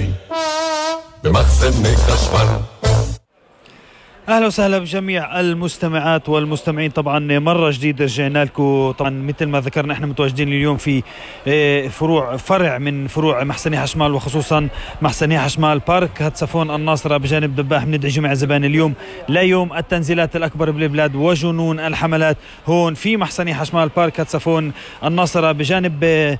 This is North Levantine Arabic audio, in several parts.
جاي بمخزن خشمال. اهلا وسهلا بجميع المستمعات والمستمعين. طبعا مره جديده رجعنا لكم. طبعا مثل ما ذكرنا احنا متواجدين اليوم في فرع من فروع محسني حشمال، وخصوصا محسني حشمال بارك هاتسفون الناصره بجانب دباح. بندعي جميع الزبائن اليوم ليوم التنزيلات الاكبر بالبلاد وجنون الحملات هون في محسني حشمال بارك هاتسفون الناصره بجانب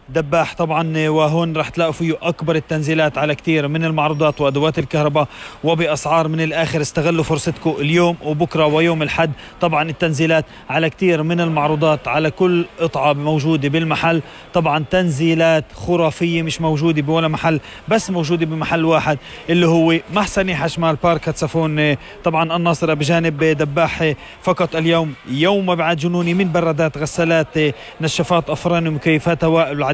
دباح. طبعا وهون رح تلاقوا فيه أكبر التنزيلات على كتير من المعروضات وأدوات الكهرباء وبأسعار من الآخر. استغلوا فرصتكم اليوم وبكرة ويوم الحد. طبعا التنزيلات على كتير من المعروضات على كل قطعة موجودة بالمحل. طبعا تنزيلات خرافية مش موجودة بولا محل، بس موجودة بمحل واحد اللي هو محسني حشمال بارك هاتسفون طبعا الناصرة بجانب دباح. فقط اليوم يوم مبيعات جنوني من برادات، غسالات، نشافات أفران، ومكيفات هواء، العديد.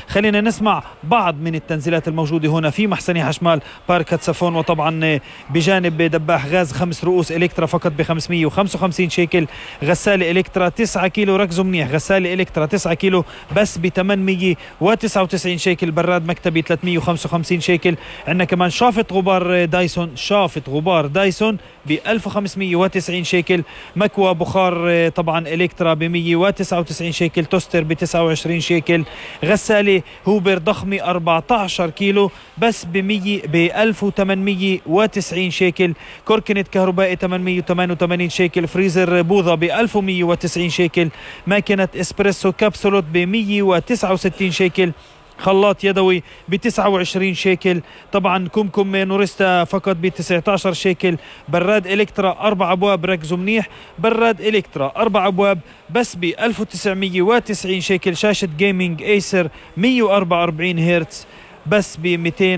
خلينا نسمع بعض من التنزيلات الموجودة هنا في محسني حشمال بارك هاتسفون. وطبعا بجانب دباح غاز 5 رؤوس إلكترا فقط ب 555 شيكل. غسالة إلكترا 9 كيلو، ركزوا منيح، غسالة إلكترا 9 كيلو بس ب 899 شيكل. براد مكتبي 355 شيكل. عندنا كمان شافة غبار دايسون ب 1590 شيكل. مكوى بخار طبعا إلكترا ب 199 شيكل. توستر ب 29 شيكل. غسالة هوبر ضخمة 14 كيلو بس ب 1890 شيكل. كوركنت كهربائي 888 شيكل. فريزر بوظة ب 1190 شيكل. ماكينة اسبريسو كابسولوت ب 169 شيكل. خلاط يدوي ب 29 شيكل. طبعا كمكم نورستا فقط ب 19 شيكل. براد إلكترا 4 أبواب، ركزوا منيح، براد إلكترا 4 أبواب بس ب 1990 شيكل. شاشة جيمينج ايسر 144 هرتز بس ب 200